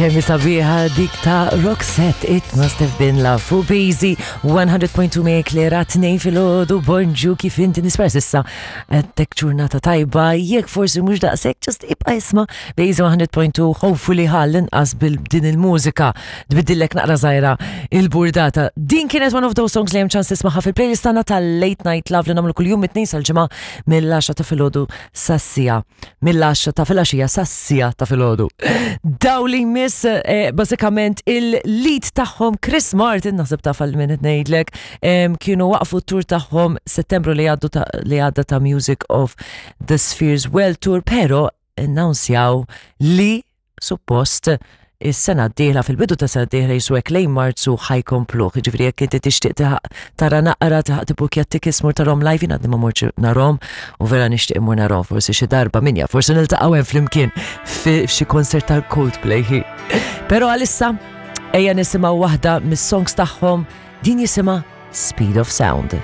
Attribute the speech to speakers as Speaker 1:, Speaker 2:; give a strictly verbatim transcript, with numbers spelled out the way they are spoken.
Speaker 1: Kemm sabiħa dik ta' Roxette, It Must Have Been Love, fuq Busy one hundred point two me Klera, tnejn filgħodu, bonġu, kif inti? Nispera s'issa għandek ġurnata tajba, jekk forsi mhux daqshekk, just ibqa' isma' Busy one hundred point two, hopefully għall-inqas bil-din il-mużika tbiddillek naqra żgħira il-burdata. Din kienet one of those songs li hemm ċans tismagħha fil-playlist tagħna tal-Late Night Love li nagħmlu kuljum mit-tnejn sal-ġimgħa mill-għaxra ta' filgħodu sas-siegħa, mill-għaxra ta' filgħaxija sas-siegħa ta' filgħodu. Daw li jmiss eh, bażikament il-lead tagħhom Chris Martin, naħseb taf għal min qed ngħidlek, em, kienu waqfu t-tour tagħhom Settembru li għaddu ta' li għadda ta' Music of the Spheres World Tour, pero announcjaw li suppost is-sena d-dieħla, fil-bidu ta' sena d-dieħla jiswek lejn Marzu, ħa jkomplu. Ġifieri jekk inti tixtieq taħ- tara naqra taħ tibukja tickets mur tarahom live, jien għadni ma mortx narahom u vera nixtieq immur narahom, forsi xi darba, min jaf, forsi niltaqgħu hemm flimkien fi f'xi concert tal-Coldplay. Però għalissa ejja nisimgħu waħda mis-songs tagħhom, din jisimha Speed of Sound.